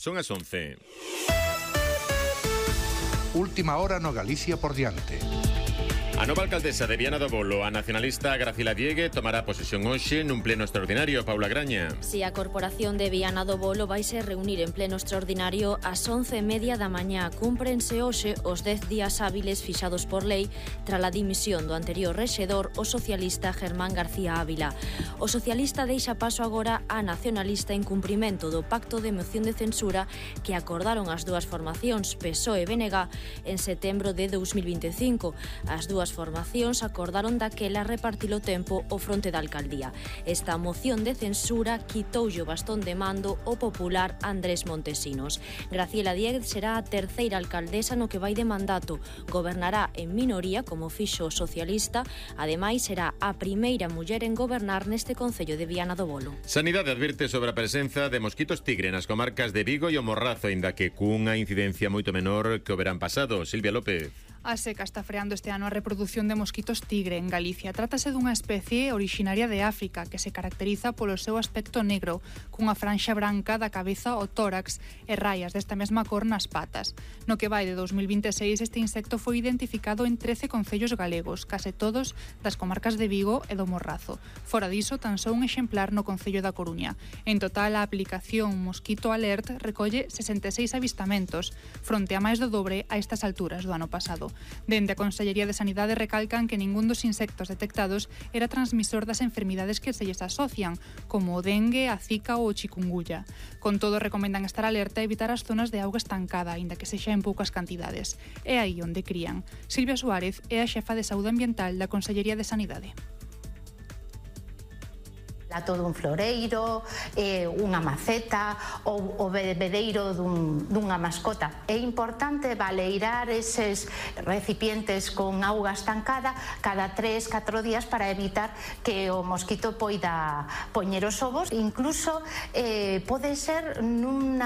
Son as 11. Última hora no Galicia por diante. A nova alcaldesa de Viana do Bolo, a nacionalista Gracila Diegue, tomará posesión hoxe nun pleno extraordinario. Paula Graña. Si a Corporación de Viana do Bolo vaise reunir en pleno extraordinario ás 11:30 da mañá. Cúmprense hoxe os 10 días hábiles fixados por lei tras a dimisión do anterior rexedor, o socialista Germán García Ávila. O socialista deixa paso agora á nacionalista en cumprimento do pacto de moción de censura que acordaron as dúas formacións, PSOE e BNG, en setembro de 2025. As dúas formacións acordaron daquela repartir o tempo ao fronte da alcaldía. Esta moción de censura quitoulle o bastón de mando o popular Andrés Montesinos. Graciela Dieguez será a terceira alcaldesa no que vai de mandato. Gobernará en minoría, como fixo o socialista. Ademais, será a primeira muller en gobernar neste concello de Viana do Bolo. Sanidade advirte sobre a presenza de mosquitos tigre nas comarcas de Vigo e o Morrazo, aínda que cunha incidencia moito menor que o verán pasado. Silvia López. A seca está freando este ano a reproducción de mosquitos tigre en Galicia. Trátase dunha especie orixinaria de África que se caracteriza polo seu aspecto negro, cunha franxa branca da cabeza ao tórax e raias desta mesma cor nas patas. No que vai de 2026, este insecto foi identificado en 13 concellos galegos, case todos das comarcas de Vigo e do Morrazo. Fora diso, tan só un exemplar no concello da Coruña. En total, a aplicación Mosquito Alert recolle 66 avistamentos, fronte a máis do dobre a estas alturas do ano pasado. Dende a Consellería de Sanidade recalcan que ningún dos insectos detectados era transmisor das enfermidades que se lles asocian, como o dengue, a zika ou o chikungunya. Con todo, recomendan estar alerta e evitar as zonas de auga estancada, aínda que sexa en poucas cantidades. É aí onde crían. Silvia Suárez é a xefa de Saúde Ambiental da Consellería de Sanidade. Todo un floreiro, unha maceta ou o bebedeiro dunha mascota. É importante baleirar eses recipientes con auga estancada cada 3-4 días para evitar que o mosquito poida poñer os ovos. Incluso pode ser nun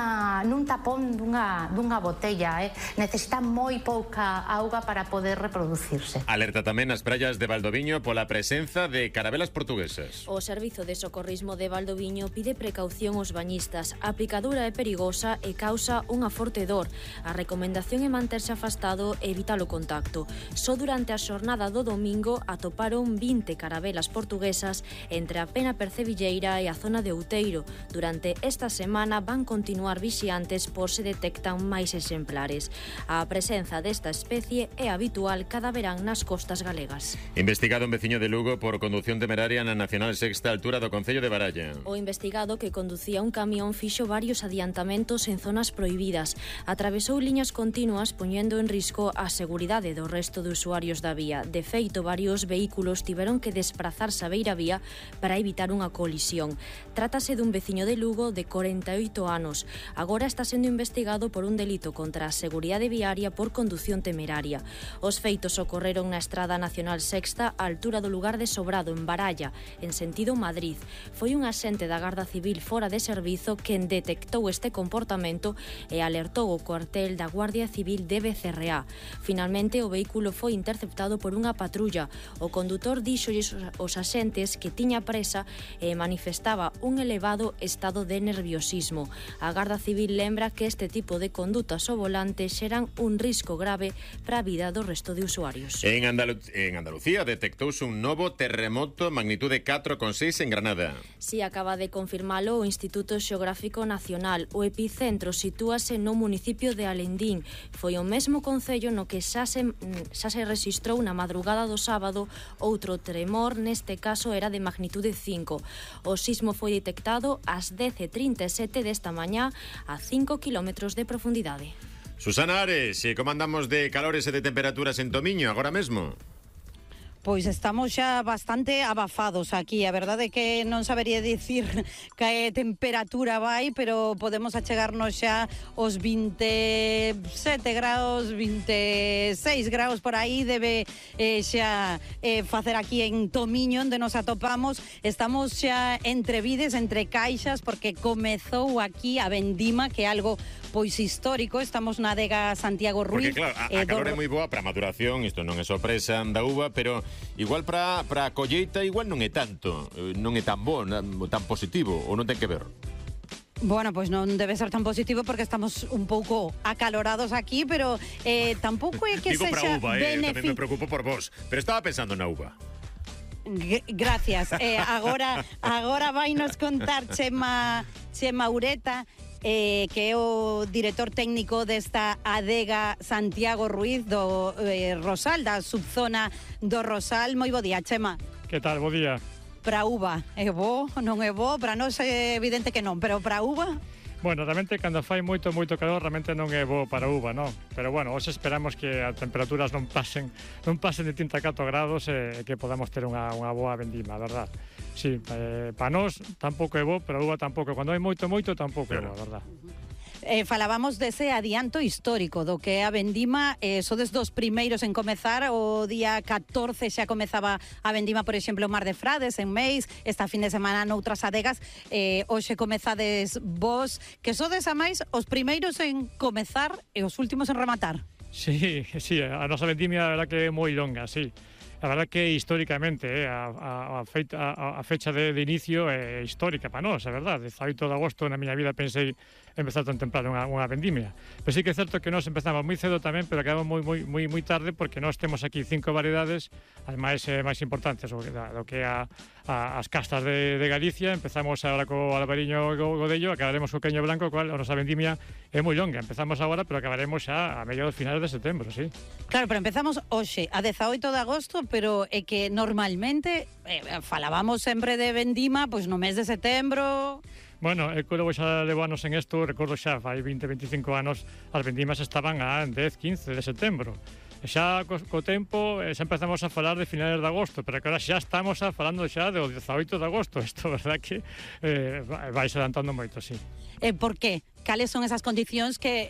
tapón dunha botella. Necesita moi pouca auga para poder reproducirse. Alerta tamén nas praias de Valdoviño pola presenza de carabelas portuguesas. O Servizo de Socorrismo de Valdoviño pide precaución aos bañistas. A picadura é perigosa e causa unha forte dor. A recomendación é manterse afastado e evitar o contacto. Só durante a xornada do domingo atoparon 20 carabelas portuguesas entre a Pena Percebilleira e a zona de Outeiro. Durante esta semana van continuar vixiantes por se detectan máis exemplares. A presenza desta especie é habitual cada verán nas costas galegas. Investigado un veciño de Lugo por condución temeraria na Nacional Sexta altura do Concello de Baralla. O investigado, que conducía un camión, fixo varios adiantamentos en zonas prohibidas. Atravesou liñas continuas poñendo en risco a seguridade do resto de usuarios da vía. De feito, varios vehículos tiveron que desprazarse a beira vía para evitar unha colisión. Trátase dun veciño de Lugo de 48 anos. Agora está sendo investigado por un delito contra a seguridade viaria por condución temeraria. Os feitos ocorreron na Estrada Nacional Sexta, á altura do lugar de Sobrado, en Baralla, en sentido Madrid. Foi un axente da Garda Civil fora de servizo quen detectou este comportamento e alertou o cuartel da Guardia Civil de Becerreá. Finalmente, o vehículo foi interceptado por unha patrulla. O condutor díxolles aos axentes que tiña presa e manifestaba un elevado estado de nerviosismo. A Garda Civil lembra que este tipo de condutas ao volante xeran un risco grave para a vida do resto de usuarios. En Andalucía detectouse un novo terremoto magnitude 4,6 en Granada. Si acaba de confirmalo o Instituto Xeográfico Nacional. O epicentro sitúase no municipio de Alendín. Foi o mesmo concello no que xa se rexistrou na madrugada do sábado outro tremor, neste caso era de magnitude 5. O sismo foi detectado ás 10:37 desta mañá a 5 kilómetros de profundidade. Susana Ares, como andamos de calores e de temperaturas en Tomiño agora mesmo? Pois estamos xa bastante abafados aquí. A verdade é que non sabería dicir que temperatura vai, pero podemos achegarnos xa aos 27 graus, 26 graus por aí debe xa facer aquí en Tomiño, onde nos atopamos. Estamos xa entre vides, entre caixas, porque comezou aquí a vendima, que é algo pois histórico. Estamos na adega Santiago Ruiz. Porque claro, a calor é moi boa para a maduración, isto non é sorpresa da uva, pero igual para a colleita igual non é tanto, non é tan bo, tan positivo, ou non ten que ver? Bueno, pois non debe ser tan positivo porque estamos un pouco acalorados aquí, pero tampouco é que Digo sexa para uva, tamén me preocupo por vos, pero estaba pensando na uva. Gracias. Agora vai nos contar Chema Ureta, que é o director técnico desta adega Santiago Ruiz do Rosal, da subzona do Rosal. Moi bo día, Chema. Que tal, bo día. Para uva, é bo, non é bo? Para nós é evidente que non, pero para uva? Bueno, realmente cando fai moito calor realmente non é bo para uva, non? Pero bueno, hoxe esperamos que as temperaturas non pasen de 34 grados e que podamos ter unha boa vendima, verdad? Sí, para nós tampouco é bo, pero a uva tampouco. Cando hai moito tampouco é bo, verdad? Falábamos dese adianto histórico do que é a vendima, sodes dos primeiros en comezar, o día 14 xa comezaba a vendima, por exemplo, Mar de Frades, en Meis, esta fin de semana noutras adegas, hoxe comezades vos, que sodes a máis os primeiros en comezar e os últimos en rematar. Sí, a nosa vendimia a verdad que é moi longa, sí. A verdad que históricamente a fecha de inicio é histórica para nós, é verdade. 18 de agosto na miña vida pensei empezar tan temprano unha vendimia. Pero sí que é certo que nós empezamos moi cedo tamén, pero acabamos moi tarde porque nós temos aquí 5 variedades, as máis importantes do que é as castas de Galicia. Empezamos agora co albariño e godello, acabaremos co queño branco, cual a nosa vendimia é moi longa. Empezamos agora, pero acabaremos xa a mediados finales de setembro, sí. Claro, pero empezamos hoxe, a 18 de agosto, pero é que normalmente falábamos sempre de vendima pois no mes de setembro. Bueno, eu levo xa levo anos en isto, recordo xa fai 20-25 anos as vendimas estaban a 10-15 de setembro. E xa co tempo xa empezamos a falar de finales de agosto, pero que ahora xa estamos falando xa do 18 de agosto. Isto, verdad que vai se adelantando moito, sí. Por qué? Cales son esas condicións que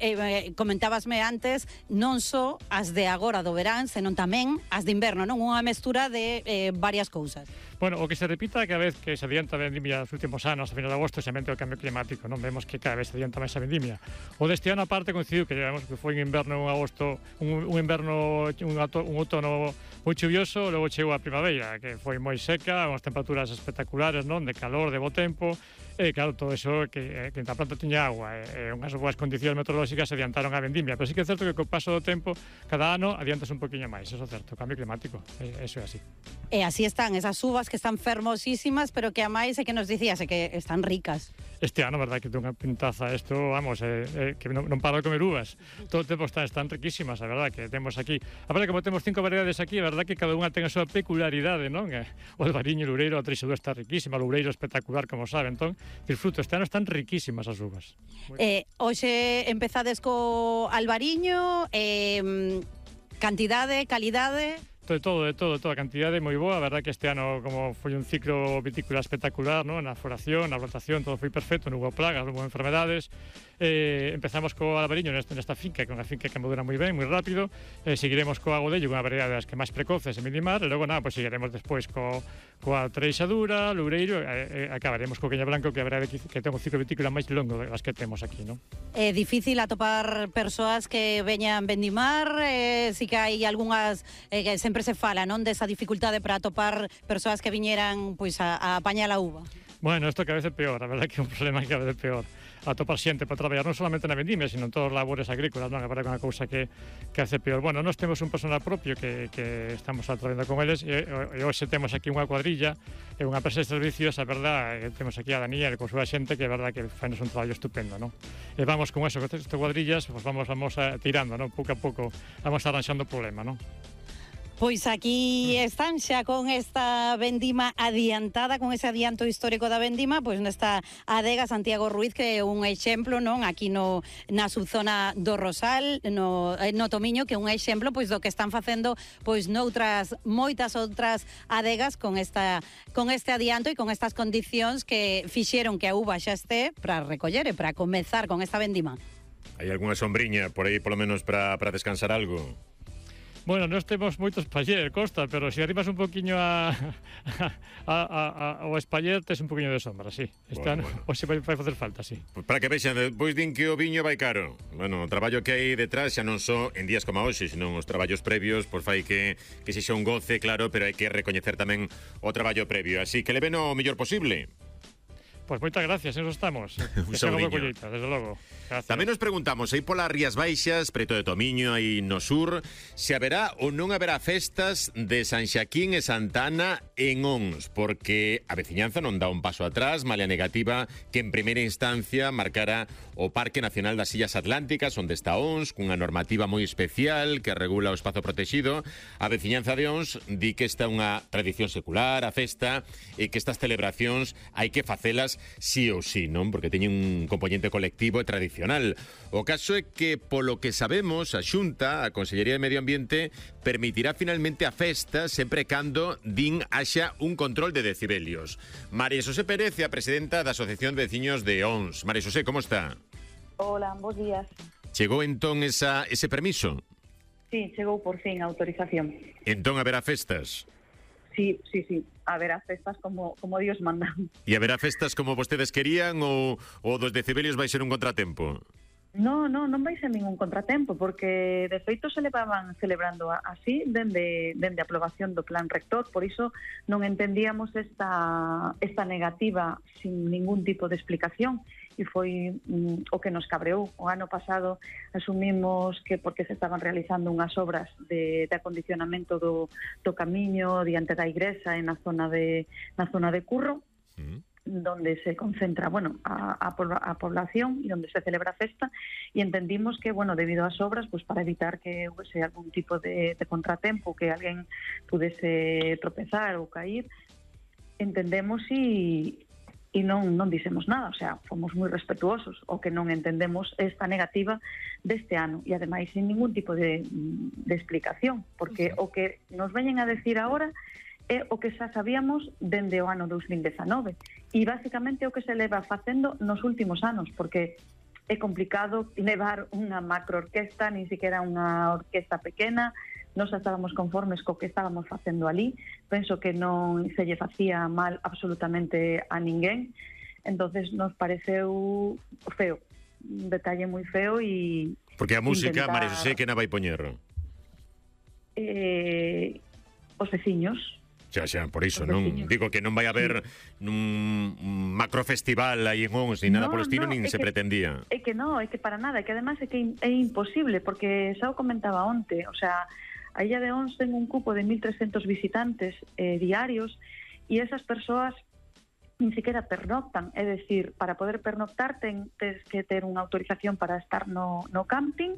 comentábasme antes, non só as de agora do verán, senón tamén as de inverno, non? Unha mestura de varias cousas. Bueno, o que se repita cada vez que se adianta a vendimia nos últimos anos, a final de agosto, xamente o cambio climático, non? Vemos que cada vez se adianta máis a vendimia. O deste ano, aparte, coincidiu que llevamos que foi un inverno, un agosto, un inverno, un outono moi chuvioso, logo chegou a primavera, que foi moi seca, unhas temperaturas espectaculares, non? De calor, de bo tempo, e claro, todo eso que a planta tiña agua e unhas boas condicións meteorolóxicas se adiantaron a vendimia, pero sí que é certo que co paso do tempo cada ano adiantas un poquinho máis, eso é certo, o cambio climático, eso é así. E así están esas uvas que están fermosísimas, pero que a máis é que nos dicías que están ricas. Este ano, verdad, que ten unha pintaza isto, vamos, que non paro de comer uvas. Todo o tempo están riquísimas, a verdad, que temos aquí. A verdade, como temos 5 variedades aquí, a verdad que cada unha ten a súa peculiaridade, non? O albariño, o loureiro, a treixadura está riquísima, o loureiro espectacular, como sabe, entón, disfruto, este ano están riquísimas as uvas. Hoxe empezades co albariño, cantidade, calidade... De todo, a cantidade moi boa, a verdad que este ano como foi un ciclo vitícola espectacular, ¿no? Na floración, na plantación, todo foi perfecto, non hubo plagas, non hubo enfermedades. Empezamos co albariño nesta finca, que é unha finca que madura moi ben, moi rápido. Seguiremos co agodello, unha variedade das que máis precoces en Midimar, e logo pues seguiremos despois coa treixadura, loureiro, acabaremos co queño branco, que a verdade que ten un ciclo vitícola máis longo das que temos aquí, non? É difícil atopar persoas que veñan vendimar, si que hai algunhas que sempre se fala, non, desa dificultade para atopar persoas que viñeran pois a apañar a uva. Bueno, isto cada vez é peor, a verdade que é un problema que cada vez é peor. Atopar xente para traballar non solamente na vendimia, sino en todos os labores agrícolas, non? A verdade que é unha cousa que hace peor. Bueno, nós temos un personal propio que estamos traballando con eles e hoxe temos aquí unha cuadrilla e unha empresa de servicios, a verdade, temos aquí a Daniel con súa xente que é verdade que fainos un traballo estupendo, non? E vamos con eso, con estas cuadrillas, pues vamos tirando, non? Pouco a pouco vamos arranxando o problema, non? Pois aquí están xa con esta vendima adiantada, con ese adianto histórico da vendima, pois nesta adega Santiago Ruiz, que é un exemplo, non, aquí na subzona do Rosal, no Tomiño, que é un exemplo pois do que están facendo pois noutras moitas outras adegas con este adianto e con estas condicións que fixeron que a uva xa este para recoller e para comezar con esta vendima. Hai algunha sombriña por aí, polo menos, para descansar algo? Bueno, nós temos moitos espaller, Costa, pero se arribas un poquinho ao espaller, tes un poquinho de sombra, sí. Este ano, hoxe vai facer falta, sí. Pues para que vexan, depois din que o viño vai caro. Bueno, o traballo que hai detrás xa non só en días como hoxe, senón os traballos previos, pois fai que sexa un goce, claro, pero hai que recoñecer tamén o traballo previo. Así que le ven o mellor posible. Pois moitas gracias, eso estamos. Un saudiño. Desde logo. Gracias. Tamén nos preguntamos, aí polas Rías Baixas, preto de Tomiño, aí no sur, se haberá ou non haberá festas de San Xaquín e Santa Ana en Ons, porque a veciñanza non dá un paso atrás, malia negativa que en primeira instancia marcara o Parque Nacional das Illas Atlánticas, onde está Ons, cunha normativa moi especial que regula o espazo protegido. A veciñanza de Ons di que esta é unha tradición secular, a festa, e que estas celebracións hai que facelas sí ou sí, non? Porque teñen un componente colectivo e tradicional. O caso é que, polo que sabemos, a Xunta, a Consellería de Medio Ambiente, permitirá finalmente a festa sempre cando din haxa un control de decibelios. María Xosé Pérez, a presidenta da Asociación de Veciños de Ons. María Xosé, como está? Hola, bons días. Chegou entón ese permiso? Sí, chegou por fin a autorización. Entón haberá festas? Sí. Haberá festas como Dios manda. E haberá festas como vostedes querían ou dos decibelios vai ser un contratempo? Non vai ser ningún contratempo, porque de feito se levaban celebrando así dende a aprobación do plan rector, por iso non entendíamos esta negativa sin ningún tipo de explicación, e foi o que nos cabreou. O ano pasado asumimos que porque se estaban realizando unhas obras de acondicionamento do camiño diante da igrexa na zona de Curro, donde se concentra, a población e donde se celebra a festa, e entendimos que, debido ás obras, para evitar que houvese algún tipo de contratempo, que alguén pudese tropezar ou cair, entendemos e non dixemos nada, o sea, fomos moi respetuosos. O que non entendemos é esta negativa deste ano, e ademais sin ningún tipo de explicación, porque o que nos veñen a decir agora é o que xa sabíamos dende o ano 2019, e basicamente o que se leva facendo nos últimos anos, porque é complicado levar unha macroorquesta, nin siquiera unha orquesta pequena. Nos estábamos conformes co que estábamos facendo ali, penso que non se lle facía mal absolutamente a ninguén, entonces nos pareceu feo, un detalle moi feo. E porque a música, María Xosé, que na vai poñer? Os veciños. Xa, por iso, non digo que non vai haber un macrofestival aí en Ons, ni nada polo estilo, nin se pretendía. É que para nada, é que además é que é imposible, porque xa o comentaba onte, o sea, a Illa de Ons ten un cupo de 1.300 visitantes diarios, e esas persoas nin siquiera pernoctan, é dicir, para poder pernoctar tens que ter unha autorización para estar no camping,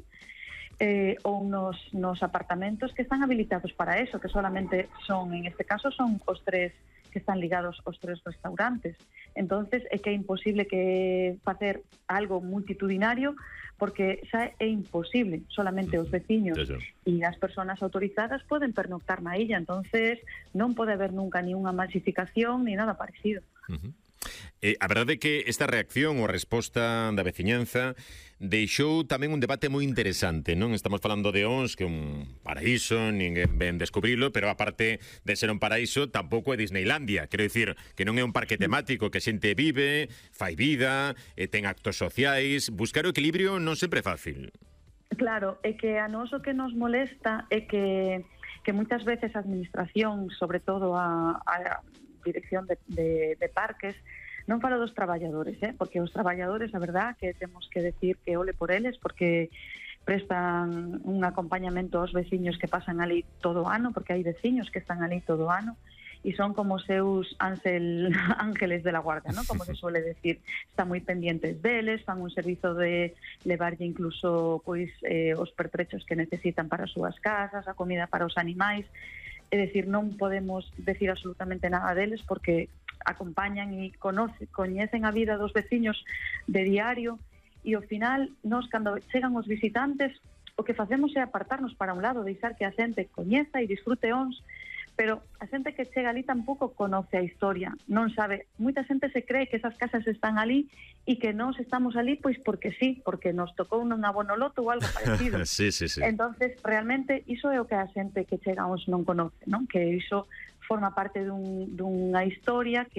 ou nos apartamentos que están habilitados para eso, que solamente son, en este caso, son os 3 que están ligados aos 3 restaurantes. Entonces é que é imposible que facer algo multitudinario, porque xa é imposible, solamente os veciños e as persoas autorizadas poden pernoctar na illa, entonces non pode haber nunca ni unha masificación ni nada parecido. A verdade é que esta reacción ou resposta da veciñanza deixou tamén un debate moi interesante, non? Estamos falando de Ons, que é un paraíso, ninguén ven descubrilo, pero aparte de ser un paraíso, tampouco é Disneylandia. Quero dicir que non é un parque temático que a xente vive, fai vida, ten actos sociais. Buscar o equilibrio non sempre é fácil. Claro, é que a nós o que nos molesta é que moitas veces a administración, sobre todo a dirección de parques, non falo dos traballadores, porque os traballadores, a verdad, que temos que decir que ole por eles, porque prestan un acompañamento aos veciños que pasan ali todo o ano, porque hai veciños que están ali todo o ano, e son como seus ángeles de la guarda, ¿no? Como se suele decir, están moi pendientes deles, fan un servizo de levarlle incluso os pertrechos que necesitan para as súas casas, a comida para os animais. É dicir, non podemos decir absolutamente nada deles, porque acompañan e coñecen a vida dos veciños de diario, e ao final, nós, cando chegan os visitantes, o que facemos é apartarnos para un lado, deixar que a xente coñeza e disfrute Ons, pero a xente que chega ali tampouco conoce a historia, non sabe. Moita xente se cree que esas casas están ali e que nós estamos ali pois porque sí, porque nos tocou un abono loto ou algo parecido. Sí. Entonces, realmente, iso é o que a xente que chega a Ons non conoce, non? Que iso forma parte dunha historia que